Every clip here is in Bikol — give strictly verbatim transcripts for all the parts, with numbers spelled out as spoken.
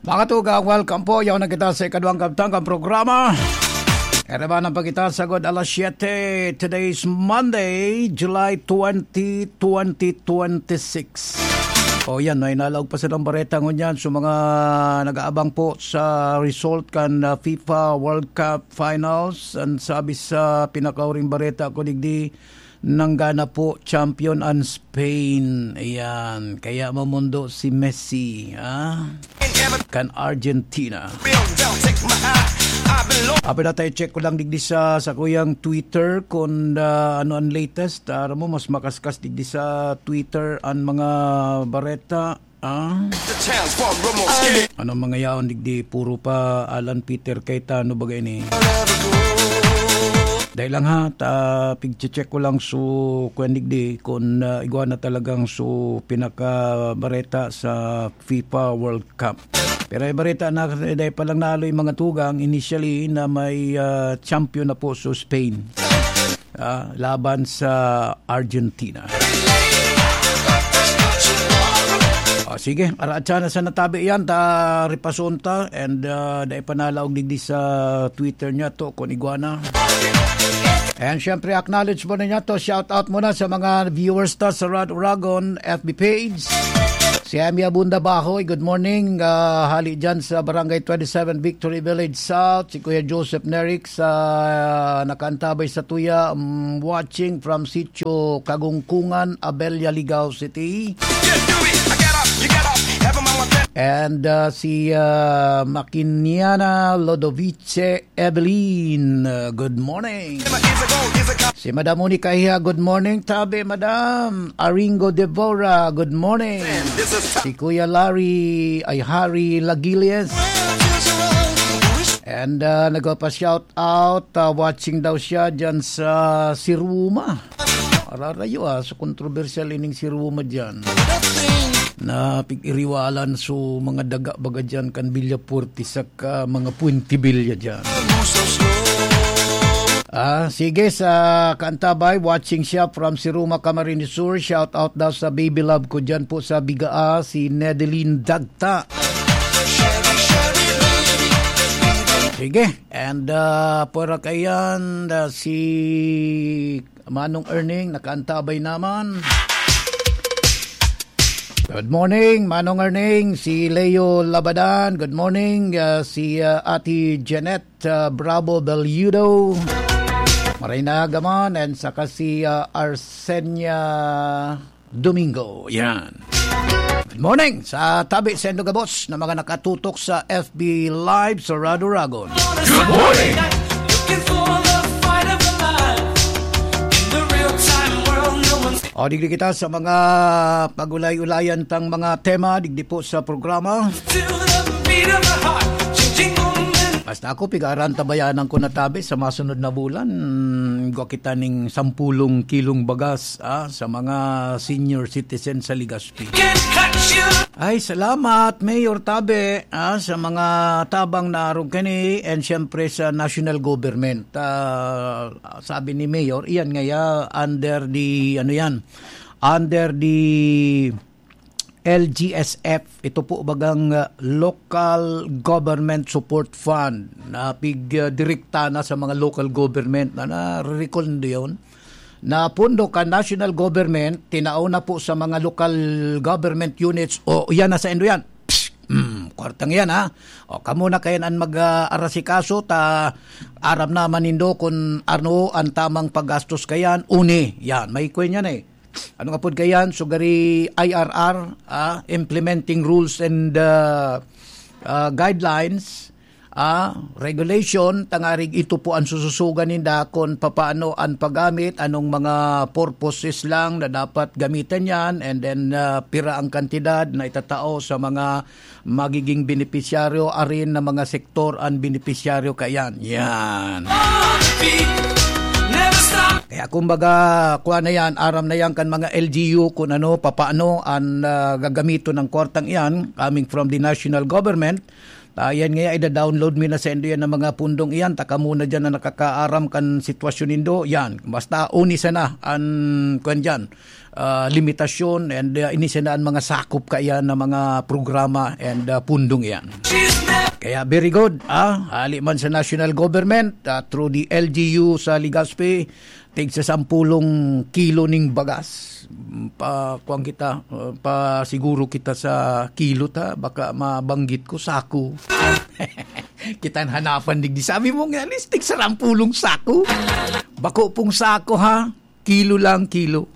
Mga tugang, welcome po. Yaon na kita sa ikaduhang kabtang kan programa. Erebanan pa kita sagod alas siyete. Today is Monday, July twenty, twenty twenty-six. O yan, may nalaog pa silang bareta ngunyan. So, mga nag-aabang po sa result kan, uh, FIFA World Cup Finals, ang sabi sa pinakauring bareta ko digdi, nanggana po, champion an Spain. Ayan. Kaya mamundo si Messi, ah? Kan Argentina. Abi na tayo, check ko lang digdi sa, sa kuyang Twitter kung, ah, ano ang latest. Aram mo, mas makaskas digdi sa Twitter ang mga bareta. Ah? Ano mga yaon digdi, puro pa Alan Peter Cayetano bagay ni. Dahil lang ha, ta, pigche-check ko lang so, kwan digdi, kung, ah, igwa na talagang so pinakabareta sa FIFA World Cup. Pero ay bareta na, dahil pa lang nalo yung mga tugang, initially na may, ah, champion na po so Spain. Ah, laban sa Argentina. O, sige, araatsa na sa natabi yan, ta ripason ta, and, ah, dai pa nalaog digdi sa Twitter niya to, kun igwa na. And syempre, acknowledge muna niya to, shout out muna sa mga viewers ta sa Rad Uragon F B page. Si Emi Abunda Bahoy, good morning. Ah, hali dyan sa Barangay twenty-seven Victory Village South. Si Kuya Joseph Neric sa nakaantabay sa tuya, um, watching from Sitio Kagungkungan, Abella, Ligao City. And, ah, si, ah, Makiniana Lodovice Evelyn, uh, good morning. Si Madam Monica Iha, good morning. Tabi, Madam. Aringo Devora, good morning. Si Kuya Larry, ay, Harry Lagilias. And, uh, nagpa-shout out, uh, watching daw siya dyan sa Siruma. Ararayo, ah, sa kontrobersyal ining Siruma dyan. Na pig-iriwalan so mga daga baga dyan kan Villafuerte saka mga Puentevilla dyan. Ah, sige, sa kaantabay, watching siya from Siruma, Camarines Sur. Shout out daw sa baby love ko dyan po sa Bigaa, si Nedeline Dagta. Sige, and, ah, pwera kaiyan, ah, si Manong Erning, nakaantabay naman. Good morning, Manong Erning. Si Leo Labadan, good morning. Ah, si, ah, Ate Janet, ah, Bravo Belludo. Maray na agaman, and saka si, ah, Arsenia Domingo. Yan. Good morning sa tabi sa Indogabos na mga nakatutok sa F B Live sa Radyo Ragon. Good morning! O, digdi kita sa mga pag-ulay-ulayan tang mga tema, digdi po sa programa. Basta ako, pigaran tabayanan ko na tabi sa masunod na bulan. Gwa kita ning sampulong kilong bagas, ah, sa mga senior citizen sa Legazpi. Ay, salamat, Mayor Tabe, ah, sa mga tabang na arog kani, and syempre sa national government. Ah, sabi ni Mayor, iyan ngaya under the, ano yan, under the L G S F, ito po bagang, ah, Local Government Support Fund, na pig, ah, direkta na sa mga local government na nare-recall nindo yun, na pondo kan national government, tinao na po sa mga local government units, o yan na sa indo yan. Psst! Hmm, kwartang yan, ha? O, kamo na kayan an mag, ah, arasikaso, ta aram naman nindo kun ano an tamang paggastos kayan, uni. Yan, may kwen yan eh. Ano nga pod kayan? Sugari I R R, ah, implementing rules and, ah, ah, guidelines, ah, regulation, tangarig ito po ang sususugan ninda kung papaano ang paggamit, anong mga purposes lang na dapat gamitan yan, and then, ah, pira ang kantidad na itatao sa mga magiging benepisyaryo, arin na mga sektor ang benepisyaryo kayan. Yan. Kaya kumbaga, kuha na yan, aram na yan kan mga L G U kung ano, papaano ang, ah, gagamiton ng kwartang iyan coming from the national government. Ta yan nga, ida-download mi na saindo yan ang mga pundong iyan. Ta kamo na diyan na nakakaaram kan sitwasyon nindo. Yan. Basta uni sana an, kuwan diyan, ah, limitasyon and, ah, ini sana an mga sakop kaiyan na mga programa and, ah, pundong iyan. Kaya very good, ah, hali man sa national government, ah, through the L G U sa Legazpi, tig sa sampulong kilo ning bagas. Pa, kuwan kita, uh, pa siguro kita sa kilo ta, baka mabanggit ko, sako. Kitang hanapan digdi. Sabi mo nga, tig sa sampulong sako. Bako pong sako, ha? Kilo lang, kilo.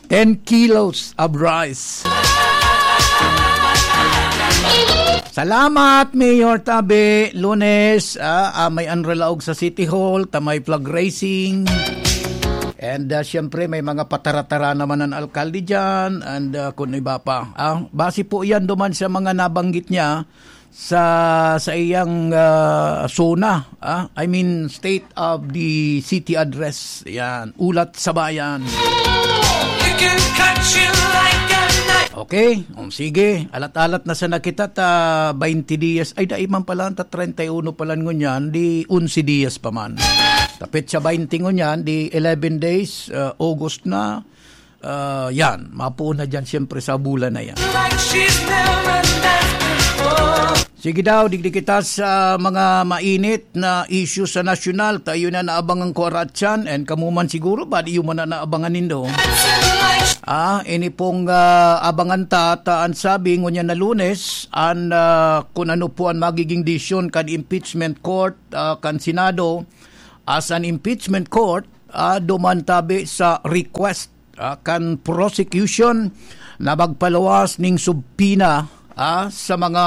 Ten kilos of rice. Salamat, Mayor Tabe. Lunes, ah, ah, may anralaog sa City Hall, ta may flag raising. And, ah, siyempre, may mga patara-tara naman ang alkalde dyan. And, ah, kung iba pa. Ah, base po yan duman sa mga nabanggit niya sa, sa iyang, ah, SONA. Ah, I mean, State of the City Address. Yan. Ulat sa Bayan. You can cut you like a knife. Okay. O, sige. Alat-alat na sana kita ta twenty dias. Ay, dai man pala, ta treinta y uno pala ngunyan, di onse dias pa man. Tapit sa twenty ngunyan, di eleven days, ah, August na. Ah, yan, mapuon na dyan siyempre sa bulan na yan. Like she's never left before. Sige daw, digdi kita sa mga mainit na issue sa nasyonal. Tayo na naabangan ko aratyan, and kamo man siguro, badi yung man na naabangan nindo. Ah, ini pong, ah, abangan ta, ta an sabi, ngunyan na Lunes, an, ah, kung ano po ang magiging desisyon kan impeachment court, ah, kan Senado, as an impeachment court, ah, duman tabi sa request, ah, kan prosecution na magpaluwas ning subpoena, ah, sa mga,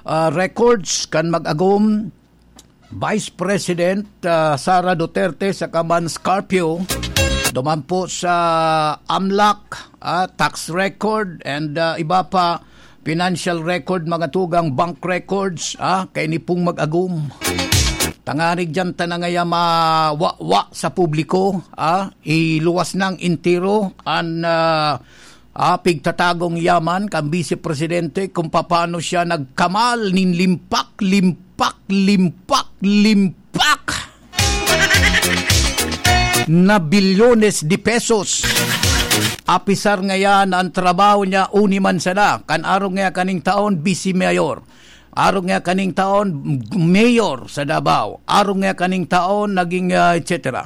ah, records kan mag-agom Vice President, ah, Sara Duterte saka man Scarpio, duman po sa AMLAC, ah, tax record, and, ah, iba pa, financial record, mga tugang, bank records, ah, kaini pong mag-agom. Tangarig diyan ta na ngaya mawawa sa publiko, ah, iluwas nang entero an, ah, ah, pigtatagong yaman kan Vice Presidente kung papaano siya nagkamal nin limpak, limpak, limpak, limpak na bilyones de pesos. Apisar ngayan an trabaho niya, uni man sana, kan arog nga kaning taon, vice mayor. Arog nga kaning taon, mayor sa Davao. Arog nga kaning taon, naging, ah, et cetera.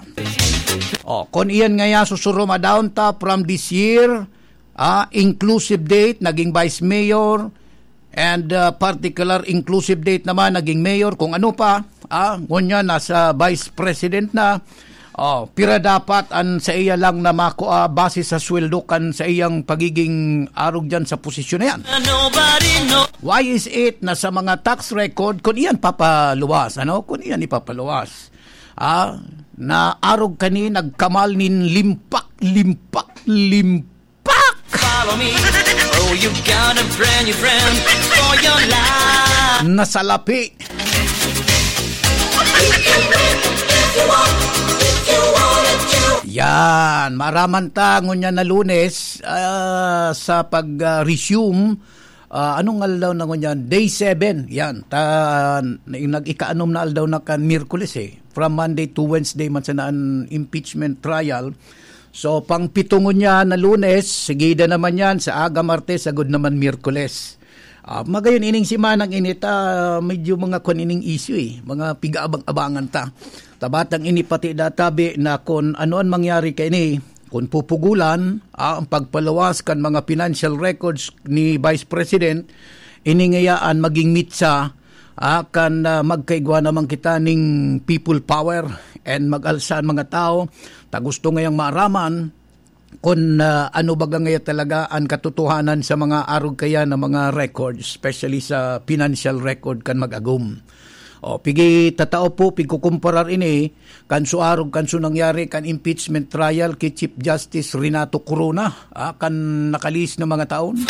Oh, kung iyan ngaya susurumadahon ta from this year, ah, inclusive date, naging vice mayor, and, ah, particular inclusive date naman, naging mayor, kung ano pa, ah, ngunyan nasa vice president na. Oh, pira dapat an sa iya lang na makua base sa sweldo kan sa iyang pagiging arog diyan sa posisyon na yan? Nobody know. Why is it na sa mga tax record, kung iyan papaluwas, ano? Kung iyan ipapaluwas, ah, na arog kani nagkamal nin limpak, limpak, limpak. Pak! Follow me. Oh, you got a brand new friend for your life. Nasalapi. Yan, maaraman ta ngunyan na Lunes, ah, sa pag, ah, resume, ah, anong aldaw na ngunyan? Day seven, yan. Ta, nag-ikaanom na aldaw na kan Miyerkules eh. From Monday to Wednesday man sana an impeachment trial. So, pang pito ngunyan na Lunes, sigida naman yan, sa aga Martes, sagod naman Miyerkules. Ah, magayon ining simanang ini ta, medyo mga kwan ining issue eh, mga pigaabang-abangan ta. Tabatang ini pati databi na kung ano ang mangyari kaini, kung pupugulan, ah, ang pagpaluwas kan mga financial records ni Vice President, ini ngayaan maging mitsa, ah, kan, ah, magkaigwa naman kita ning people power and mag-alsa an mga tao ta gusto ngayang maaraman kun, ah, ano baga ngaya talaga an katotohanan sa mga arog kaya na mga record, especially sa financial record kan mag-agom. O, pigi tatao po, pigkukumparar ini kan suarog kan su nangyari kan impeachment trial ki Chief Justice Renato Corona, ah, kan nakalihis na mga taon.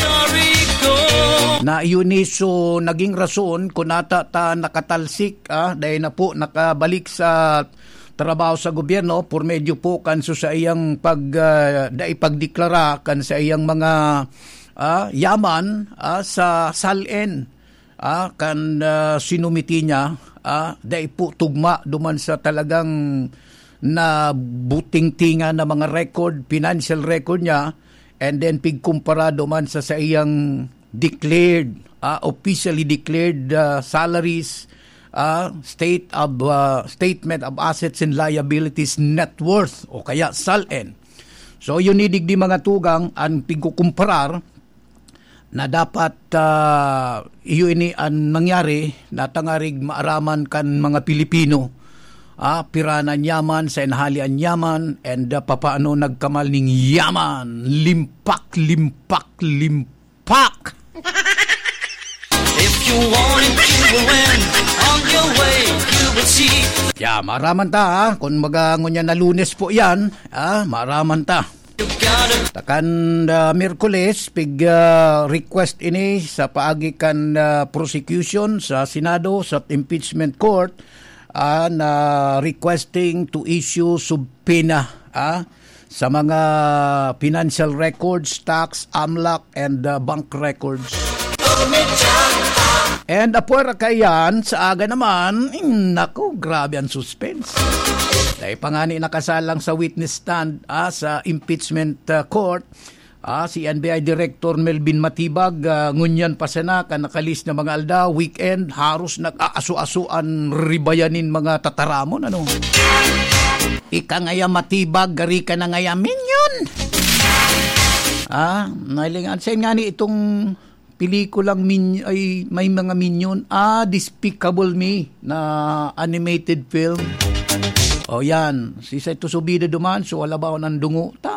Na yun is, so, naging rason kung ata ta nakatalsik, ah, dahil na po nakabalik sa trabaho sa gobyerno por medyo po kan su sa iyang pag, ah, dai pagdeklara kan sa iyang mga, ah, yaman, ah, sa SALN. ah, kan, ah, sinumiti niya, ah, dai po tugma duman sa talagang nabutingtingan na mga record, financial record niya, and then pigkumpara duman sa saiyang declared, ah, officially declared, ah, salaries, ah, state of, ah, statement of assets and liabilities net worth o kaya salen. So, yun ni digdi mga tugang an pigkukumparar na dapat, ah, iyo ini an nangyari na tangarig maaraman kan mga Pilipino, ah, pira na an yaman, sa inahali an yaman, and, ah, papaano nagkamal ning yaman. Limpak, limpak, limpak! If you want it, you will win. On your way, you will see. Yeah, maaraman ta, ha? Kung magangon yan na Lunes po yan, ah, maaraman ta. Takan, ah, Miyerkules, pig, ah, request ini sa paagi kan, ah, prosecution sa Senado, sa impeachment court, ah, na requesting to issue subpoena, ah, sa mga financial records, tax, amlak, and, ah, bank records. And apwera kaiyan, sa aga naman, mm, naku, grabe ang suspense. Dahil pa nga ni nakasalang sa witness stand, ah, sa impeachment, ah, court, ah, si N B I Director Melvin Matibag, ah, ngunyan pa sana kan nakalis na mga aldaw, weekend, haros nag-aaso-aso an ribayan nin mga tataramon, ano? Ika ngaya Matibag, gari ka na ngaya Minion! Ah, nailingan. Saan nga ni itong pelikulang Min-, ay, may mga Minion? Ah, Despicable Me na animated film. O yan, si Saito Subida duman, so wala ba ako ng dungo?